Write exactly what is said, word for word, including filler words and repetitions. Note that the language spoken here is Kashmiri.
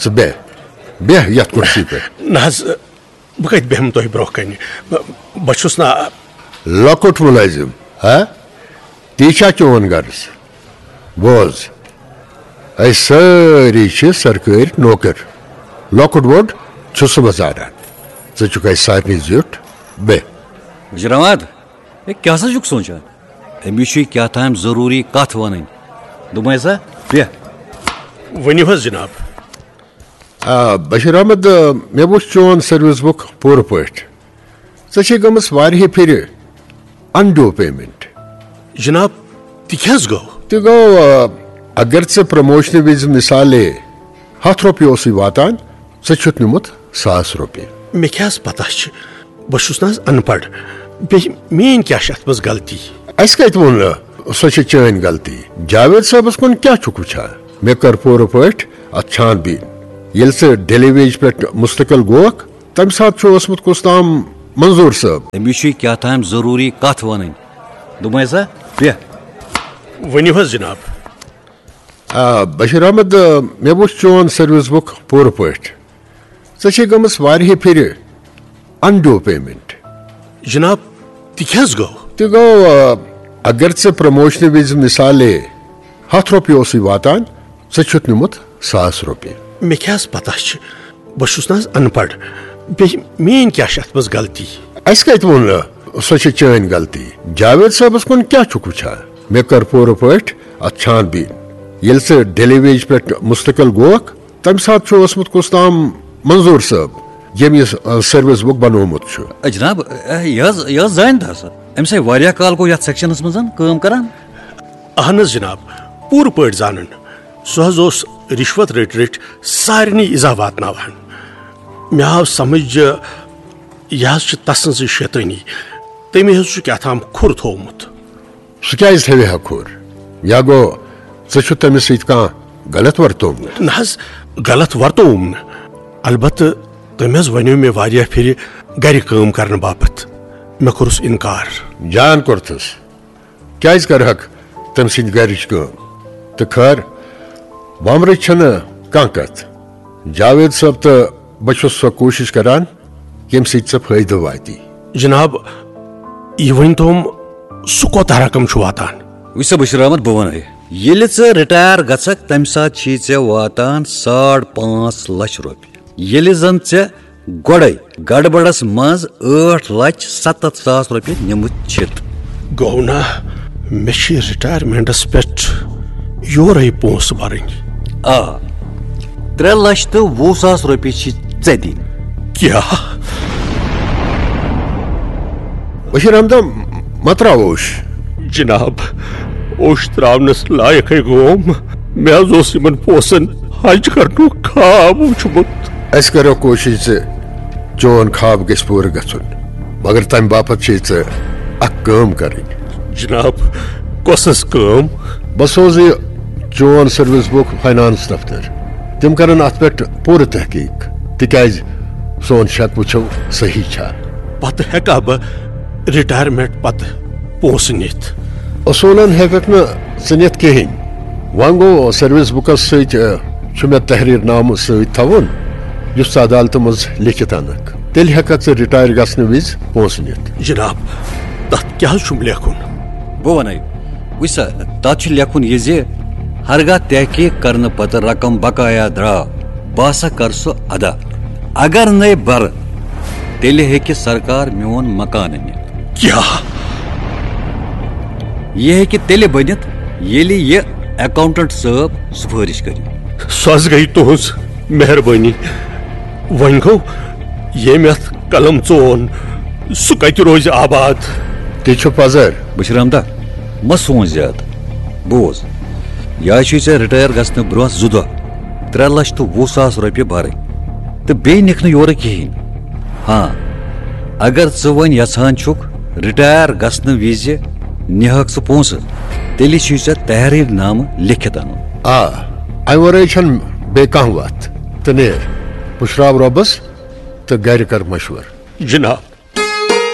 ژٕ بیٚہہ، بیٚہہ یتھ کُرسی پٮ۪ٹھ۔ نہ حظ، بہٕ کتہِ بیٚہمہٕ تۄہہِ برونٛہہ کنہِ؟ بہٕ، بہٕ چھُس نہ۔ لۄکُٹ مُلٲزِم، ہا؟ تی چھا چون غرض؟ بوز، أسۍ سٲری چھِ سرکٲرۍ نوکر۔ لۄکُٹ بوٚڑ چھُ صُبحس زانان۔ ژٕ چھُکھ اَسہِ سارنٕے زیُٹھ۔ بیٚہہ۔ وزیر احمد، ہے، کیٛاہ سا چھُکھ سونٛچان؟ أمِس چھُے کیٛاہ تام ضروٗری کتھ ونٕنۍ۔ دوٚپمَے سا، بیٚہہ۔ ؤنِو حظ جناب۔ آ، بشیر احمد، آ، مےٚ وُچھ چون سروس بُک پوٗرٕ پٲٹھۍ۔ ژےٚ چھے گٔمٕژ واریاہہِ پھِرِ اندو پیمنٹ۔ جناب، تہِ کیٛاہ حظ گوٚو؟ تہِ گوٚو، آ، اگر ژےٚ پروموشنہٕ وِزِ مثالے ہتھ رۄپیہِ اوسُے واتان، ژےٚ چھُتھ نیوٗمُت ساس رۄپیہِ۔ مےٚ کیٛاہ حظ پتہ چھِ؟ بہٕ چھُس نہ حظ ان پڑھ۔ بیٚیہِ میٛٲنۍ کیٛاہ چھِ اتھ منٛز غلطی؟ اسہِ کتہِ ووٚن نہٕ سۄ چھِ چٲنۍ غلطی؟ جاوید صٲبس کُن کیٛاہ چھُکھ وٕچھان؟ مےٚ کٔر پوٗرٕ پٲٹھۍ اتھ چھان بیٖن۔ ییٚلہِ ژٕ ڈیلی ویج پٮ۪ٹھ مستقل گوکھ، تمہِ ساتہٕ چھُ اوسمُت کُس تام منظور صٲب۔ أمِس چھُے کیٛاہ تام ضروٗری کتھ ونٕنۍ۔ دوٚپمَے سا، بیٚہہ۔ ؤنِو حظ جناب۔ آ، بشیر احمد، آ، مےٚ وُچھ چون سروس بُک پوٗرٕ پٲٹھۍ۔ ژےٚ چھے گٔمٕژ واریاہہِ پھِرِ اندو پیمنٹ۔ جناب، تہِ کیٛاہ حظ گوٚو؟ تہِ گوٚو، آ، اگر ژےٚ پروموشنہٕ وِزِ مثالے ہتھ رۄپیہِ اوسُے واتان، ژےٚ چھُتھ نیوٗمُت ساس رۄپیہِ۔ مےٚ کیٛاہ حظ پتہ چھِ؟ بہٕ چھُس نہ حظ ان پڑھ۔ بیٚیہِ میٛٲنۍ کیٛاہ چھِ اتھ منٛز غلطی؟ اسہِ کتہِ ووٚن نہٕ سۄ چھِ چٲنۍ غلطی؟ جاوید صٲبس کُن کیٛاہ چھُکھ وٕچھان؟ مےٚ کٔر پوٗرٕ پٲٹھۍ اتھ چھان بیٖن۔ ییٚلہِ ژٕ ڈیلی ویج پٮ۪ٹھ مستقل گوکھ، تمہِ ساتہٕ چھُ اوسمُت کُس تام منظور صٲب، ییٚمۍ یہِ، آ، سروس بُک بنوومُت چھُ۔ اے جناب، اے، یہِ حظ، یہِ حظ زانہِ تھا سا۔ أمِس ہے واریاہ کال گوٚو یتھ سیکشنس منٛز کٲم کران۔ اہن حظ جناب، پوٗرٕ پٲٹھۍ زانان۔ سُہ حظ اوس رِشوت رٔٹۍ رٔٹۍ سارنٕے ایٖزا واتناوان۔ مےٚ آو سمجھ زِ یہِ حظ چھِ تسٕنٛزٕے شیطٲنی۔ تٔمۍ حظ چھُ کیٛاہ تام کھُر تھوومُت۔ سُہ کیٛازِ تھاوِ ہا کھُر؟ یا گوٚو ژےٚ چھُ تٔمِس سۭتۍ کانٛہہ غلط ورتوومُت؟ نہ حظ، غلط ورتووُم نہٕ۔ البتہٕ تٔمۍ حظ ونیو مےٚ واریاہ پھِرِ گرِ کٲم کرنہٕ باپتھ۔ مےٚ کوٚرُس انکار۔ جان کوٚرتھس۔ کیٛازِ کرہکھ تٔمۍ سٕنٛدِ گرِچ کٲم؟ تہٕ خٲر، وۄمرٕچ چھنہٕ کانٛہہ کتھ۔ جاوید صٲب تہٕ بہٕ چھُس سۄ کوٗشش کران، ییٚمہِ سۭتۍ ژےٚ فٲیدٕ واتی۔ جناب، یہِ ؤنۍ توم، سُہ کوتاہ رقم چھُ واتان؟ وٕچھ سا بشیر احمد، بہٕ وَنَے، ییٚلہِ ژٕ رِٹایَر گژھکھ، تَمہِ ساتہٕ چھی ژےٚ واتان ساڑ پانٛژھ لچھ رۄپیہِ۔ ییٚلہِ زَن ژےٚ گۄڈَے گڑبڑس منٛز ٲٹھ لچھ ستتھ ساس رۄپیہِ نِمٕتۍ چھِتھ۔ گوٚو نا، مےٚ چھِ رِٹایَرمٮ۪نٛٹَس پٮ۪ٹھ یورَے پونٛسہٕ بَرٕنۍ۔ آ، ترٛےٚ لچھ تہٕ وُہ ساس رۄپیہِ چھِ ژےٚ دِنۍ۔ کیٛاہ؟ بشیر احمد، مہ تراو اوش۔ جناب، اوش تراونس لایقے گوم۔ مےٚ حظ اوس یِمن پونٛسن حج کرنُک خواب وُچھمُت۔ أسۍ کرو کوٗشش زِ چون خواب گژھِ پوٗرٕ گژھُن، مگر تمہِ باپتھ چھے ژےٚ اکھ کٲم کرٕنۍ۔ جناب، کۄس حظ کٲم؟ بہٕ سوزٕ یہِ چون سروس بُک فاینانس دفتر۔ تِم کرن اتھ پٮ۪ٹھ پوٗرٕ تحقیق، تِکیازِ سون شک وٕچھو صحیح چھا۔ پتہٕ ہیٚکا بہٕ رِٹایرمنٹ پتہٕ پونٛسہٕ نِتھ؟ اصوٗلن ہیٚککھ نہٕ ژٕ نِتھ کِہیٖنۍ۔ وۄنۍ گوٚو، سروس بُکس سۭتۍ، آ، چھُ مےٚ تحریر نامہٕ سۭتۍ تھاوُن، یُس ژٕ عدالتہٕ منٛز لیکھِتھ انکھ۔ تیٚلہِ ہیٚککھ ژٕ رِٹایَر گژھنہٕ وِزِ پونٛسہٕ نِتھ۔ جناب، تتھ کیٛاہ حظ چھُم لیکھُن؟ بہٕ وَنَے، وٕچھ سا، تَتھ چھُ لیکھُن یہِ زِ ہرگاہ تحقیق کرنہٕ پتہٕ رقم بقایا درٛاو، بہٕ ہسا کر سُہ ادا۔ اگر نَے بَرٕ، تیٚلہِ ہیٚکہِ سرکار میون مکانہٕ نِتھ۔ کیٛاہ؟ یہِ ہیٚکہِ تیٚلہِ بٔنِتھ، ییٚلہِ یہِ اکاؤنٹنٹ صٲب سفٲرِش کرِ۔ سۄ حظ گٔیہِ تُہنٛز مہربٲنی۔ وۄنۍ گوٚو، ییٚمۍ اتھ قلم ژون، سُہ کتہِ روزِ آباد؟ تہِ چھُ پزر۔ بشیر احمدہ، مہ سونچ زیادٕ۔ بوز، یا چھُے ژےٚ رِٹایَر گژھنہٕ برونٛہہ زٕ دۄہ ترٛےٚ لچھ تہٕ وُہ ساس رۄپیہِ برٕنۍ، تہٕ بیٚیہِ نِکھ نہٕ یورٕ کِہیٖنۍ۔ ہاں، اگر ژٕ وۄنۍ یژھان چھُکھ رِٹایَر گژھنہٕ وِزِ نِہَکھ ژٕ پونٛسہٕ، تیٚلہِ چھُے ژےٚ تحریر نامہٕ لیکھِتھ اَنُن۔ آ، اَمہِ ورٲے چھَنہٕ بیٚیہِ کانٛہہ وَتھ۔ تہٕ نیر، پُشراو رۄبَس تہٕ گرِ کر مشورٕ۔ جناب،